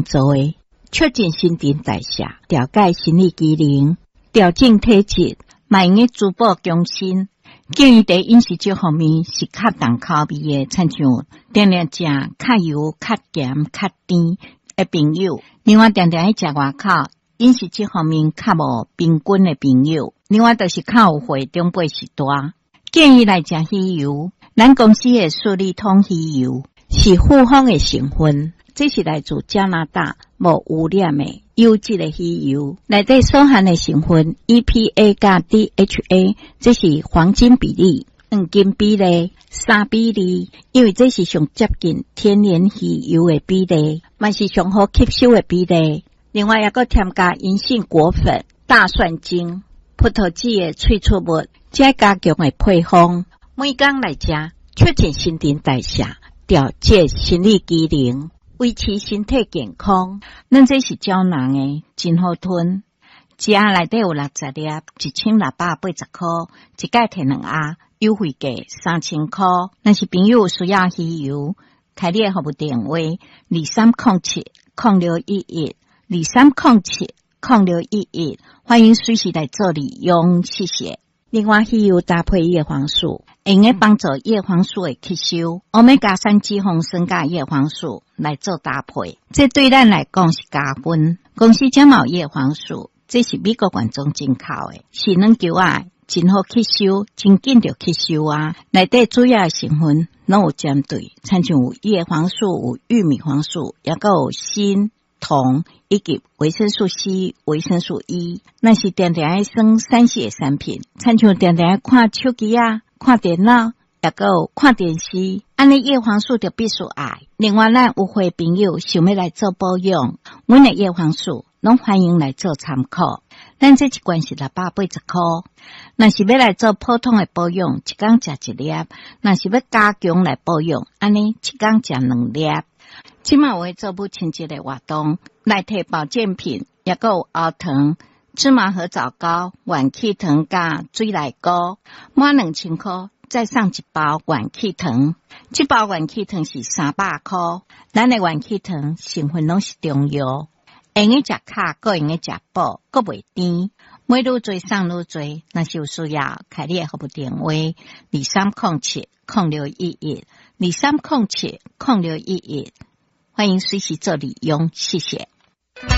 做的，促進新陳代謝，調節生理機能，調整體質，嘛會用滋補強身。建議佇飲食這方面是較重口味的，親像定定食較油、較鹹、較甜的朋友。另外，定定愛食外口飲食這方面較無平均的朋友。另外，就是較有歲長輩序大，建議來食魚油。咱公司的雪利通魚油是複方的成分，這是來自加拿大無污染的優質的魚油，內底所含的成分 EPA 佮 DHA，這是黃金比例，黃金比例3比2，因為這是上接近天然魚油的比例，嘛是上好吸收的比例。另外，猶閣添加銀杏果粉、大蒜精、葡萄籽的萃取物，這加強的配方，每工來食，促進新陳代謝，調節生理機能，維持身體健康。咱這是膠囊的，真好吞。一盒內底有60粒，1680箍，一擺提兩盒，優惠價3000箍。若是朋友有需要魚油，開你的服務電話：23070611，23070611，歡迎隨時來做利用，謝謝。另外，魚油搭配葉黃素，會用幫助葉黃素的吸收。歐米伽三脂肪酸佮葉黃素來做搭配，這對咱來講是加分。公司這嘛有葉黃素，這是美國原裝進口的，是軟球仔，真好吸收，真緊就吸收啊！內底主要的成分攏有針對，親像有葉黃素、有玉米黃素，抑閣有鋅、銅以及維生素 C、維生素 E。若是定定愛耍3C 的產品，親像定定愛看手機啊、看電腦，抑閣有看電視，按呢葉黃素就必須愛。另外，咱有歲朋友想欲來做保養，阮的葉黃素攏歡迎來做參考。咱這一罐是680箍，若是欲來做普通的保養，一工食一粒；若是欲加強來保養，按呢一工食兩粒。這馬有做母親節的活動，來提保健品，抑閣有喉糖、芝麻核棗糕、元氣糖佮水內膏，滿2000箍再送一包元氣糖。這包元氣糖是300箍。咱的元氣糖成分攏是中藥，會用食較，閣會用食補，閣袂甜。買愈濟送愈濟，若是有需要，開你的服務電話：23070611，23070611，歡迎隨時做利用，謝謝。